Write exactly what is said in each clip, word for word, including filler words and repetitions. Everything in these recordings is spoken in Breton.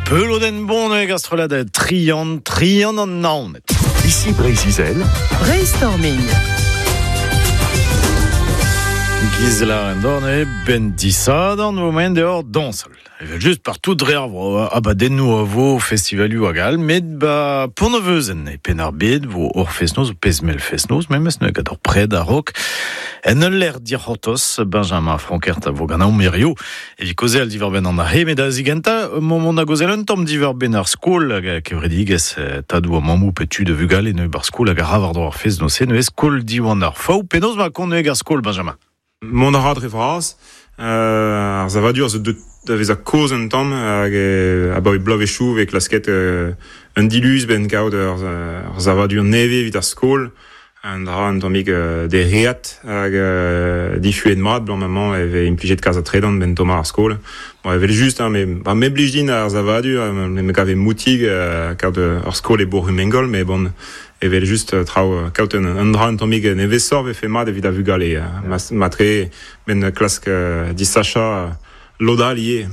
Peloden bon hag ar strollad Trian, Trian an Naoned. Ici Breizh-Izel. Brainstorming. Gisela en dorne ben disadan vo maen deor dansal. Evel just partout dre ar vro, abadennoù a vo festivalioù hag all, met ba Pont-Neuvezen e penn ar bed vo ur fest-noz, pezmel fest-noz, memes ne gant ur pred a rok. En ul lec'h dic'hortoz, Benjamin Frankert a vo gant an mirio. Evit kaozeal diwar-benn an ahe, met da zigenta, momont a gaozeal un tamm diwar-benn ar skol hag kevredigezh tadoù ha mammoù pe tud a vugale neue bar skol hag a ra war-dro ar fest-noz-se neuze skol Diwan ar Faou. Penaos ma kont neuze ar skol, Benjamin? Mont a ra dre vras, euh, ar zavadur zo deut da vezañ kozh un tamm hag euh, abaoe bloavezhioù vez klasket euh, un diluz ben kaout ur, ur zavadur nevez evit ar skol, un dra un tammig euh, dereat hag euh, difuet mat blam amañ e vez implijet kalz a tredan ben tommañ ar skol. Bon, evel just, hein, me, ba, me blij din ar zavadur, me, me gave moutig euh, kaout ur skol e Bourg-Rumengol, mais bon, evel just traoù kaout un, un dra un tammig nevesoc'h vefe mat evit a vugale. Yeah. Ma, matre ben klask uh, disachañ lod all ivez.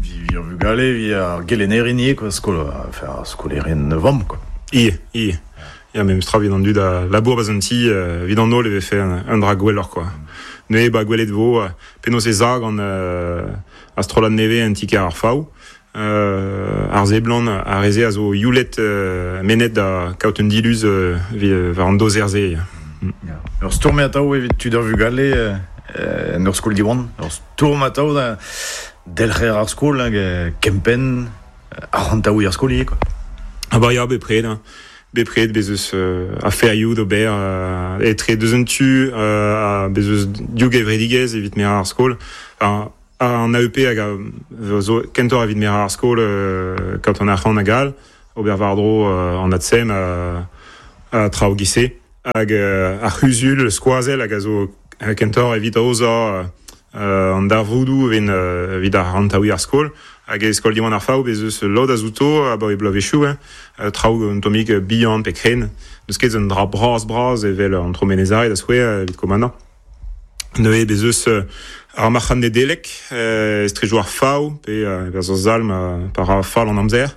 Vi ar vugale, vi ar gelennerin ivez, quoi, skol, enfin, ar skolerien vamm, quoi. Ie, ie. Ya, memes tra evit an dud a labour ba'z an ti, euh, evit an holl e vefe un, un dra gwelloc'h, quoi. Neuze ba gwelet vo, euh, penaos e za gant euh, ar strollad nevez an ti-kêr ar Faou. Euh, ar seblant ar reze a zo youlet euh, menet da kaout un diluz euh, evit war an doser-se. Mm. Yeah. Ur stourm atav evit tud ar vugale euh, en ur skol Diwan. Ur stourm atav da delc'her ar skol hag kempenn arc'hantaouiñ ar skol ivez, quoi. Ah bah ya, bepred, hein. Bepred, bez eus euh, aferioù d'ober euh, etre deus un tu euh, bez eus div gevredigezh evit merañ ar skol. Enfin, an A E P hag a zo kentoc'h evit merañ ar skol euh, kaout an arc'hant hag all, ober war-dro euh, an ATSEM a, a traoù gise. Hag euh, ar c'huzul skoazell hag a zo kentoc'h evit aozañ euh, an darvoudoù evit, euh, evit ar rantaouiñ ar skol. Hag e skol Diwan ar Faou bez eus lod a zouto abaoe bloavezhioù, hein, traoù un tammig bihan pe kren. N'eus ket un dra bras-bras evel an Tromenezare da skouer evit kommandañ. Neuze bez eus ar marc'had Nedelec, euh, estrejoù ar Faou, pe euh, bez eus zalm euh, par ar fall an amzer.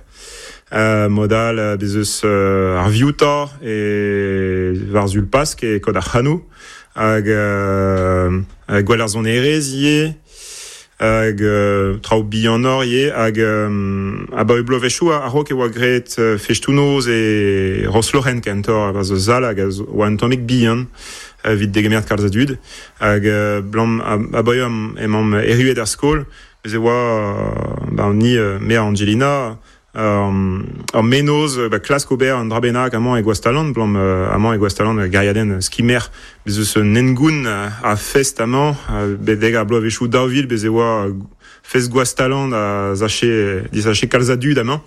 Euh, modal bez eus euh, ar viouta e war zul Pask e kod ar c'hanoù. Hag euh, gwell ar sonerezh ivez, hag euh, traoù bihanoc'h ivez, hag euh, abaoe bloavezhioù a-raok e oa graet euh, festoù-noz e Rosloren kentoc'h a zo zal hag a zo oa un tammig bihan evit degemer kalz a dud. Hag euh, blam abaoe emaomp erruet ar skol, bez e oa ba, ni euh, me Angelina ur menoz ba, klask ober un dra bennak amañ e Gwastalan, blam amañ e Gwastalan gariadenn skimer, bez eus un engoun a fest amañ, bedeg ar bloavezhioù daou vil, bez e oa fest Gwastalan a zache, disache kalz a dud amañ.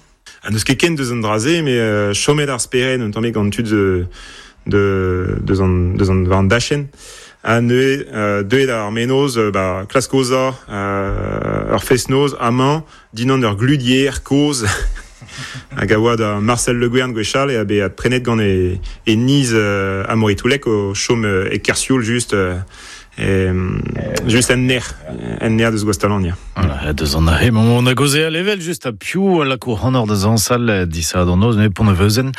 Ha n'eus ket ken deus an dra-se, met chomet ar spered un tammig gant tud de, de, deus an, deus an, war an dachenn. Ha neuze, euh, deuet ar menoz, ba, klask ozañ, euh, ur fest-noz amañ, dinan ur gludier kozh, hag a oa da Marcel Le Guern gwechall e a bet prenet gant e, e niz euh, Amaury Toulek o chom euh, e Kersioul just euh, e, just en ner, en ner deus Gwastalan, ya. Voilà, deus an ahe, moment a gaozeal evel just a piv la kour hanor da zañsal disa d'an noz, ne Pont-Neuvezen.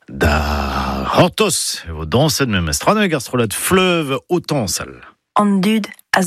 Da c'hortoz e vo dañset memes tra hag ar strollad Fleuve o tañsal. An dud a